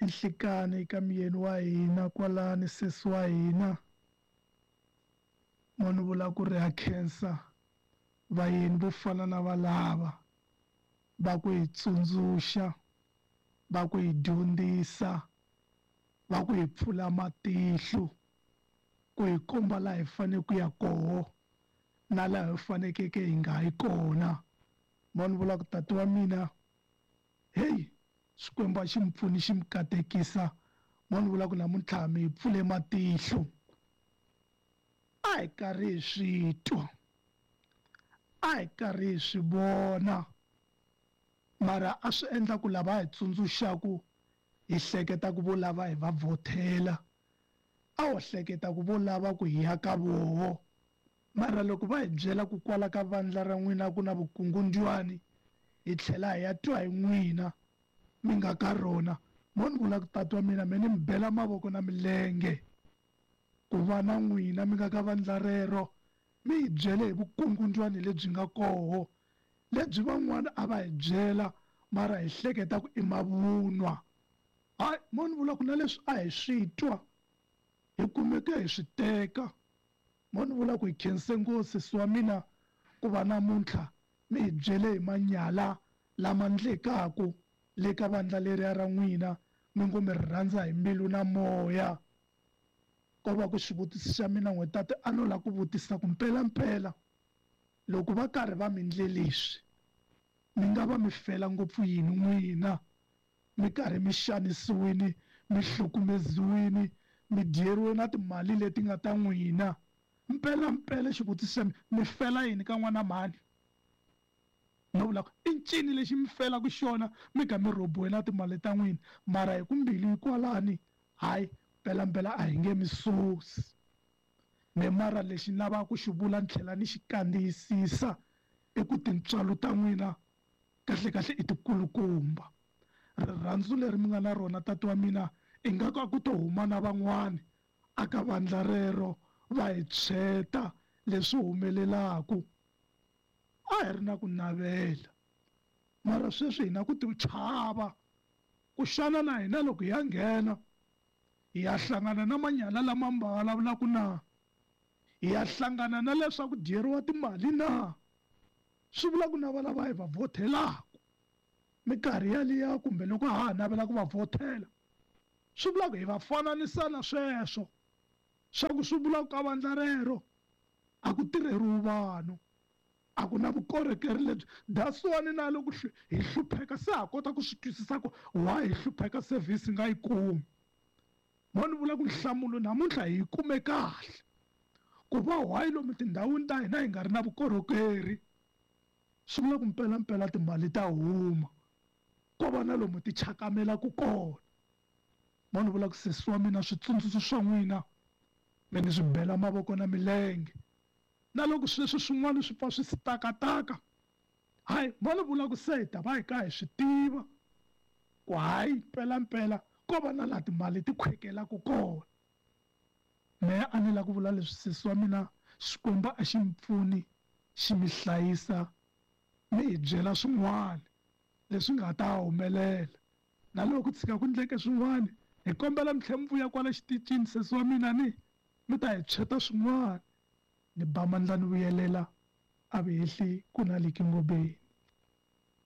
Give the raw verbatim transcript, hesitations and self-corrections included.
Nhlikani ka muyeni wa hina kwalani sesi wa hina. Mo ni vula ku ri ha khensa vayeni vo fana na valava va ku hi tsundzuxa, va ku hi dyondzisa, va ku hi pfula matihlo, ku hi komba laha hi fanele ku ya koho na laha hi fanekeke hi nga yi kona. Mo ni vula ku tati wa mina, hey, Xikwembu a xi mi pfuni xi mi katekisa. Mo ni vula ku namuntlha mi hi pfule matihlo. A hi karhi hi swi twa, a hi karhi hi swi vona, mara a swi endla ku lava hi tsundzuxaku hi hleketa ku vo lava hi va vhothela, a ho hleketa ku vo lava ku hi ya ka voho. Mara loko va hi byela ku kwala ka vandla ra n'wina ku na vukungundzwani, hi tlhela hi ya twa hi n'wina mi nga ka rona. Mo ni vula ku tati wa mina me ni mi bela mavoko na milenge ku va na n'wina mi nga ka vandla rero, mi hi byele hi vukungundzwani lebyi nga koho, lebyi van'wana a va hi byela mara hi hleketa ku i mavunwa. Hayi, mo ni vula ku na leswi a hi swi twa hi kumeke hi swi teka. Mo ni vula ku hi khense ngopfu sesi wa mina ku va namuntlha mi hi byele hi manyala lama ndlekaku le ka vandla leriya ra n'wina, mi ngo mi ri rhandza hi mbilu na moya. Ko va ku xivutiso xa mina n'we tate a no lava ku vutisa ku mpelampela loko va karhi va mi ndle leswi, mi nga va mi fela ngopfu yini n'wina? Mi karhi mi xanisiwile, mi hlukumeziwile, mi dyeriwe na timali leti nga ta n'wina. Mpelampela xivutiso xa mina, mi fela yini ka n'wana mhani? No vula ku i ncini lexi mi felaka xona mi ka mi rhobiwe na timali ta n'wina, mara hi ku mbilu yi kwalani, hayi mpelampela a hi nge mi susi. Me mara lexi ni lavaka ku xi vula ni tlhela ni xi kandziyisisa i ku tintswalo ta n'wina kahlekahle i tikulukumba. Rirhandzu leri mi nga na rona tati wa mina ingaku a ku to huma na van'wani a ka vandla rero va hi tshweta leswi humelelaku. A hi ri na ku navela, mara sweswi hi na ku ti chava ku xana na hina loko hi ya nghena hi ya hlangana na manyala lama mi va vulavulaka na, hi ya hlangana na leswaku dyeriwa timali na. Swi vula ku na va lava hi va vhothelaka minkarhi yaliya kumbe loko ha ha navela ku va vhothela, swi vula ku hi va fananisa na sweswo, swa ku swi vula ku ka vandla rero a ku tirheriwi vanhu, a ku na vukorhokeri lebyi. That's why na loko hi hlupheka se ha kota ku swi twisisa ku why hi hlupheka service hi nga yi kumi. Mo ni vula ku nhlamulo namuntlha hi yi kume kahle ku va why lomu tindhawini ta hina hi nga ri na vukorhokeri, swi vula ku mpelampela timali ta huma ko va na lomu ti chakamelaka kona. Mo ni vula ku sesi wa mina switsundzuxo swa n'wina mi ni swi bela mavoko na milenge, na loko sweswi swin'wana swi pfa swi sitakataka, hayi mo ni vula ku se hi ta va hi ka hi swi tiva ku hayi mpelampela ko va na laha timali ti khwekelaka kona. Mehe a ni lava ku vula leswi sesi wa mina, Xikwembu a xi mi pfuni xi mi hlayisa, mi hi byela swin'wana leswi nga ta humelela. Na loko ku tshika ku ndleke swin'wana, hi kombela mi tlhela mi vuya kwala xitichini sesi wa mina ni mi ta hi tshweta swin'wana. Ni ba mandla ni vuyelela a vi hehli ku na Likingobe.